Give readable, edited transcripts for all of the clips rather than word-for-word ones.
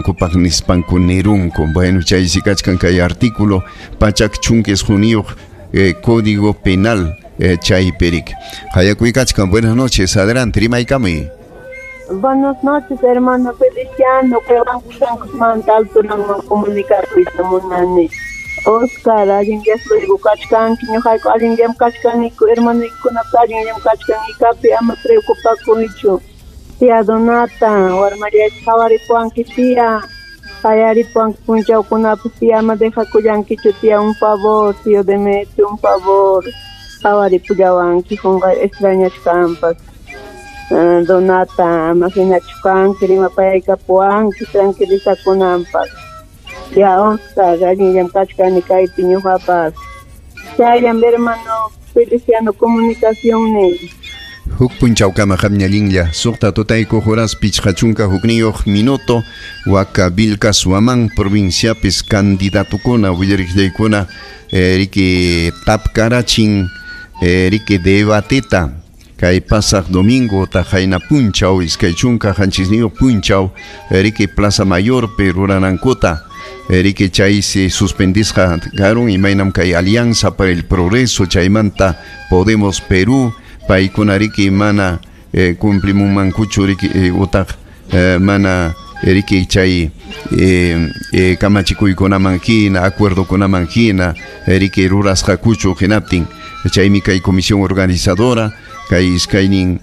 Ruranankupaq nispanku nirunku. Bueno, chaysi kachkan kay artículo 119 Código Penal chaypirik. Hayakuykachkan, buenas noches, adelante, rimaykamuy. Buenas noches, hermano Feliciano, que alturanman comunicarkuyta munani. Oscar, allinllam kachkanki, ñuqayku allinllam kachkaniku, hermanoykunapas allinllam kachkanikapi, ama preocupakuychu. Tía Donata, warmallayta qhawaripuwanki tía, qayaripuwanki punchawkunapas tía, ama dejakullankichu tía, un favor, tío Demetrio, un favor, qhawaripullawanki, qunqay extrañachkanpas. Donata, ama hinachu kanki, rimapayaykapuwanki, tranquilizakunanpaq. Ya, Oscar, allinllam kachkani kaypi ñuqapas. Chayllam, hermano Feliciano, comunicación. Huk punchawkama qamña allinlla, 6 tutaykuq horas 51 minuto, Waka Vilcas Huamán provinciapis candidatukuna willariqllaykuna riki tapkarachin riki debateta kay pasaq domingo taqayna punchaw 27 punchaw riki Plaza Mayorpi ruranankuta riki chaysi suspendisqa karun imaynam kay Alianza para el Progreso chaymanta Podemos Perú paykuna riki mana cumplimunmankuchu riki utaq mana riki chay kamachikuykunaman hina acuerdokunaman hina riki rurasqakuchu hinaptin chaymi kay comisión organizadora kay iskaynin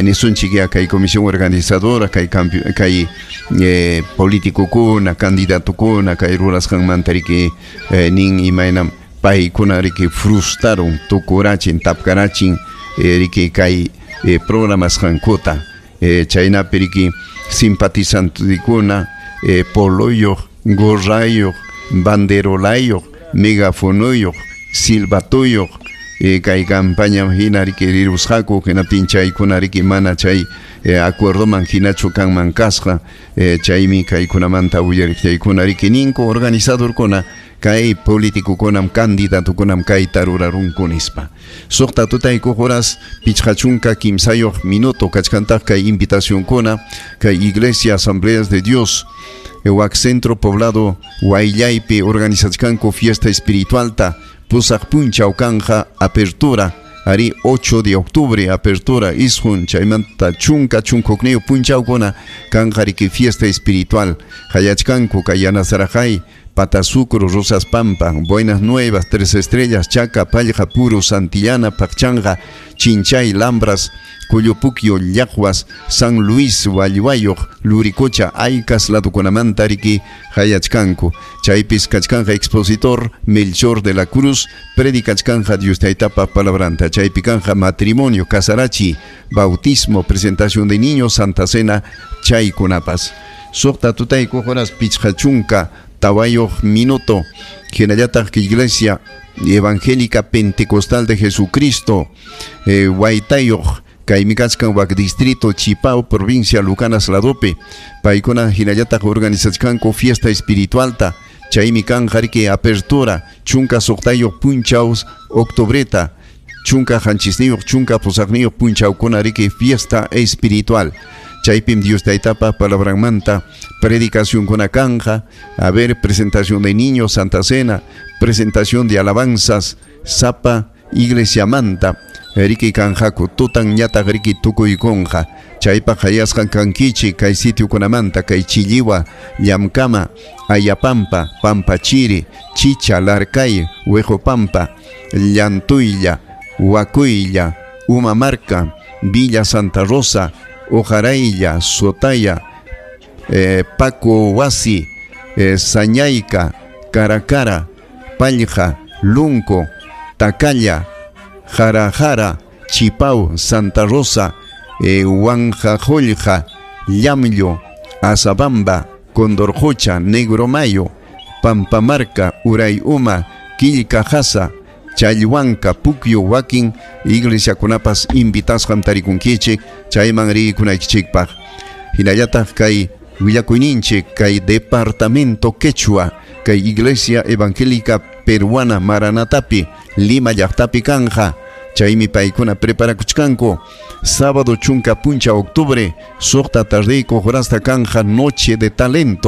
nisunchik ya kay comisión organizadora kay kay politikukuna candidatukuna kay rurasqanmanta riki nin imaynam paykuna riki frustraron tukurachin tapkarachin riki kay programasqankuta chaynapi riki simpatizantekuna poloyuq gorrayuq banderolayuq megafonoyuq silbatuyuq kay campaña hina riki rirusqaku hinaptin chaykuna riki mana chay acuerdoman hinachu kanman kasqa chaymi kaykunamanta willariqllaykuna riki ninku organizadorkuna kay politikukunam candidatukunam kayta rurarunku nispa. 6 tutaykuq horas 53 minuto kachkantaq kay invitacionkuna kay Iglesia Asambleas de Dios wak Centro Poblado Huayllaypi organizachkanku fiesta espiritualta pusaq punchaw kanja apertura ari 8 de octubre apertura isqun chaymanta 11 punchawkuna kanja riki fiesta espiritual hayachkanku kay Yanasarajay Patasucro, Rosas Pampa, Buenas Nuevas, Tres Estrellas, Chaca, Pallja, Puro, Santillana, Pacchanga, Chinchay, Lambras, Cuyupuquio, Llajuas, San Luis, Hualluayoj, Luricocha, Aycas, ladukunamanta riki hayachkanku. Chaypis kachkanja expositor Melchor de la Cruz, predicachkanja Dios taytapa palabranta. Chaypi kanja matrimonio, casarachi, bautismo, presentación de niños, Santa Cena, chaykunapas. 6 tutaykuq horas 54 minuto. Hinallataq Iglesia Evangélica Pentecostal de Jesucristo, Huaytayuq, kaymi kachkan wak distrito Chipao, provincia Lucanas ladopi. Paykuna hinallataq organizachkanku fiesta espiritualta. Chaymi kanja riki apertura 16 punchaw octubreta 17 18 punchawkuna riki fiesta espiritual. Chaypim Dios taytapa palabranmanta predicación kanja, a ver, presentación de niños, Santa Cena, presentación de alabanzas, sapa, iglesia manta, riki kanjaku, tutan ñataq riki tukuykunja, chaypaq hayasqan kankichi, kay sitiokunamanta, kay Chilliwa, Llamkama, Ayapampa, Pampachiri, Chicha, Larcay, Huejopampa, Llantuylla, Huacuylla, Umamarca, Villa Santa Rosa, Ojaraylla, Sotaya, Paco Huasi, Sañayca, Caracara, Pallja, Lunco, Tacalla, Jarajara, Chipau, Santa Rosa, Huanjajollja, Llamllo, Azabamba, Condorjocha, Negro Mayo, Pampamarca, Urayuma, Quillcajasa, Challhuanca, Puquio, wakin iglesiakunapas invitasqam tarikunkichik chayman rikunaykichikpaq. Hinallataq kay willakuyninchik kay departamento Quechua kay Iglesia Evangélica Peruana Maranatapi Lima llaqtapi kanja chaymi paykuna preparakuchkanku sábado 10 puncha octubre 6 tardeykuq horasta kanja noche de talento.